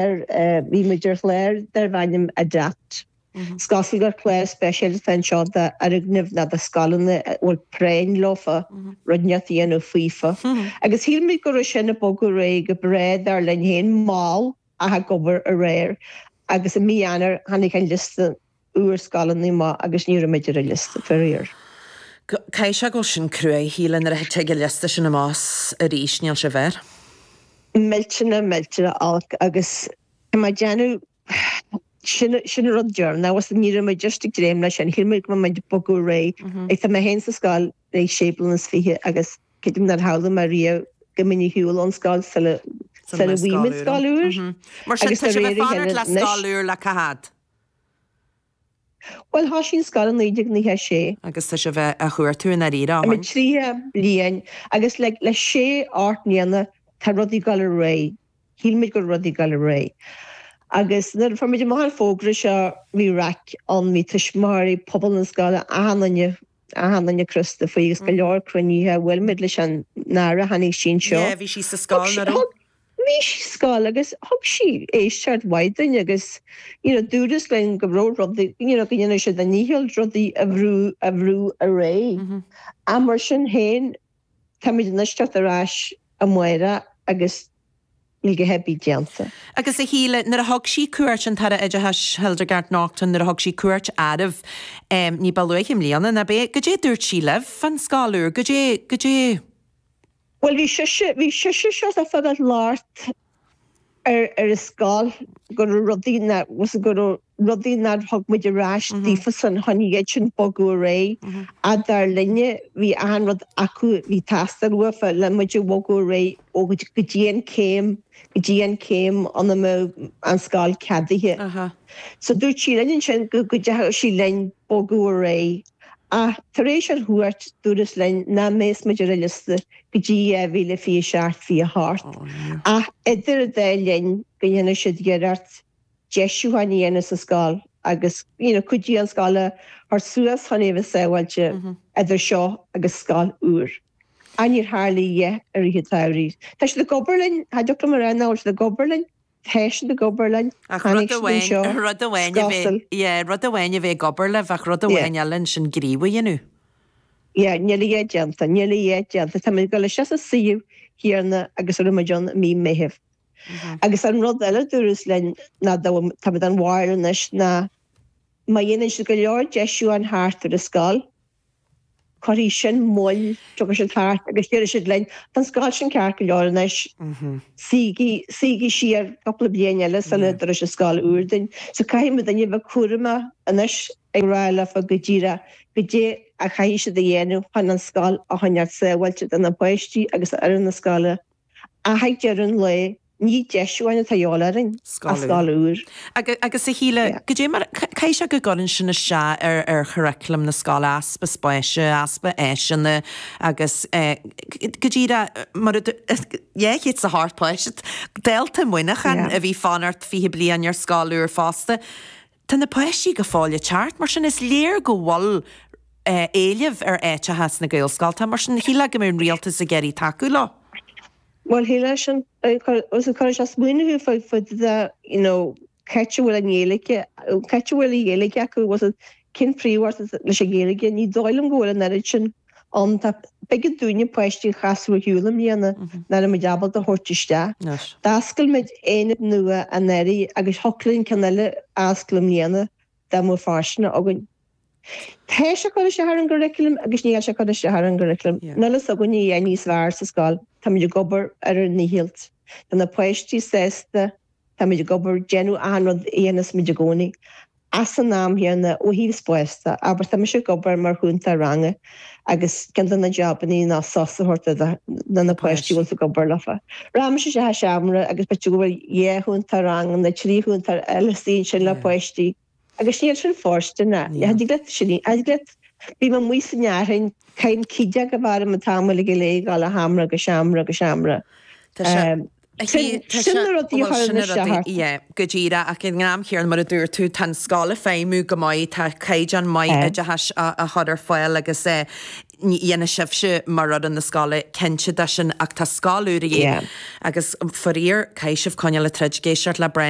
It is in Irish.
bhí muid ar chlár darbh ainm Adapt. Is cosúil gur clár speisialta atá anseo d'fhoirgnimh nó do scoileanna a bhfuil práinn leofa rud inteacht a dhéanamh faofa. Agus shíl muid go raibh sin ag bogadh ar aghaidh go breá dar linn féin, mall ach ag obair ar aghaidh. Agus i mí Eanáir tháinig an liosta úr scoileanna amach agus ní raibh muid ar an liosta, faraor. Caithfidh sé go bhfuil sin cruaidh, a Shíle, nuair a thig an liosta sin amach arís, níl sé bhfearr. Millteanach, millteanach olc agus tá mé ag déanamh Sin sin an rud deireanach agus ní raibh muid just ag dréim leis sin, shíl muid go mbeadh muid ag bogadh ar aghaidh. Like tá mé féin sa scoil le sé bliana is 20 agus creidim nár shamhlaigh mé riamh go mbeinn ar shiúl ón scoil sula sula bhfaighidh muid scoil úr. Mar sin Agus tá de sibh réir ag a fanacht chéile le anois. scoil úr le cá fhad? Bhuel thosaigh an scoil i 1996. Agus tá sibh á chuartú i ndáiríre ó Tá muid shin. 30 bliain agus like le sé ocht mbliana tá rudaí ag dul ar aghaidh. Shíl muid go raibh rudaí ag dul ar aghaidh. Agus nuair a fuair muid amach an fógra seo, bhí raic ann, bhí tuismitheoirí, pobal na scoile, achan duine, achan duine crosta faoi agus go leor cruinnithe, bhuail muid leis an Aire, tháinig sí anseo. Yeah, bhí sí sa scoil, Thug nach raibh? Bhí sí sa scoil agus thug sí éisteacht mhaith dúinn agus you know dúradh linn go raibh rudaí, you know go ndéanadh siad a ndícheall rudaí a bhrú, a bhrú ar aghaidh. Ach mar sin féin, Táimid anois teacht ar ais amárach agus níl a dhath ar bith déanta. Agus a Shíle, nuair a thug sí cuairt, an tAire Oideachais Hildegarde Naughton, nuair a thug sí cuairt oraibh ní ba luaithe i mbliana, ná b'é, goidé a dúirt sí libh fán scoil úr, goidé, goidé? Bhuel bhí sise, bhí sise seo ag fágáil locht ar ar an scoil go raibh rudaí nach, go raibh rudaí nár thug muid ar ais daofasan chun iad sin bogadh ar aghaidh. Ach dar linne bhí achan rud acu a bhí ag teastáil uafa le muid a bhogadh ar aghaidh ó go dtí an céim, go dtí an céim ina mbeadh an scoil ceadaithe. So dúirt sí linn ansin go gcuideodh sí linn bogadh ar aghaidh. Ach tar éis an chuairt, dúradh linn nach mbeadh muid ar an liosta go dtí 2027, 28. Ach idir an dá linn go ndéanfaidh siad iarracht deisiúcháin a dhéanamh sa scoil agus you know cuid den scoil a thabhairt suas chun é a bheith sábháilte idir seo agus scoil úr. Ach níor tharla a dhath i rith an tsamhraidh. Tá siad ag obair linn, cha dtiocfadh liom a rá nach bhfuil siad ag obair linn, Tá siad ag obair linn, Ach tháinig rud siad anseo, amháin, rud amháin a bheith, scoil. yeah, rud amháin a bheith ag obair libh ach rud amháin eile ansin gníomh a dhéanamh. Yeah, níl a dhath déanta, níl a dhath déanta. Tá muid ag dul isteach sa suíomh céanna agus a raibh muid ann i mí Meithimh. Agus an rud eile a dúradh linn ná dá bhfuil, tá muid den bharúil anois ná má dhéanann siad go leor deisiúcháin thart ar an scoil, Cuirfidh sin moill, tiocfaidh siad thart agus déarfaidh siad linn, tá an scoil sin ceart go leor anois, suígí, suígí siar cúpla bliain eile sula dtabharfaidh siad scoil úr dúinn. So caithfidh muidinne a bheith cúramach anois ag rá leofa go díreach goidé a chaithfidh siad a dhéanamh chun an scoil a choinneáil sábháilte do na páistí agus d'fhoireann na scoile. Ach ag deireadh an lae, ní deisiúcháin atá a dhíobháil orainn, ach scoil úr. Agus a Shíle, goidé mar, caithfidh sé go gcuireann sin isteach ar ar churriculum na scoile, easpa spáis, easpa áiseanna agus go díreach mar a 208 páiste, dálta Muineachán a bhí fanacht 20 bliain ar scoil úr fosta. Tá na páistí go fóill ag teacht, mar sin is léir go bhfuil éileamh ar áiteacha sna Gaelscolta, mar sin shílfeá go mbeadh an rialtas ag iarraidh tacú leo. Bhuel, shílfeá sin. Cuireann sé smaoineamh thú faoi faoi the, you know, cá háit a bhfuil an Ghaeilge, cá háit a bhfuil an Ghaeilge acu, was it, cén phríomháit leis an Ghaeilge? Ní dóigh liom go bhfuil an oiread sin ann. Tá, b'éigean dúinne páistí a chasadh ar shiúl i mbliana, nach raibh muid ábalta a thabhairt isteach. D'oscail muid aonad nua anuraidh agus thiocfadh linn ceann eile a oscailt i mbliana dá mbeadh fóirstean againn. Tá sé ag cur isteach ar an gcurriculum agus níl sé ag cur isteach ar an gcurriculum. Níl fhios againn a dhath níos fearr sa scoil. Táimid ag obair ar ár ndícheall. Tá na páistí sásta, táimid ag obair, déanamh achan rud a dhéanas muid i gcónaí. Ach san am chéanna, ó thaobh spáis de, abair, tá mise ag obair mar chúntóir ranga agus ceann de na jabannaí ná sos a thabhairt do na páistí a bhfuil tú ag obair leofa. Rachainnse isteach i seomra agus b'fhéidir go bhfuil dhá chúntóir ranga nó trí chúntóir eile istigh ansin le páistí. Agus níl sin fóirsteanach. Ní thig leat sin, ní thig leat, bím amuigh san fhearthainn, caithim cídeach a bheith orm an t-am uilig go léir, ag dul ó sheomra go seomra go seomra. Tá sé, Sin, sin na rudaí a bhuel, sin chuireann na isteach rudaí, ort. yeah, go díreach, ach ag an am chéanna, mar a dúirt tú, tá an scoil ag feidhmiú go maith, tá caighdeán maith oideachais á chur ar fáil agus eh. Ní dhéanfaidh sibhse mar fhoireann na scoile cinnte de sin ach tá scoil úr a dhíth agus faraor caithfidh sibh coinneáil ag troid ag éisteacht le Brendan.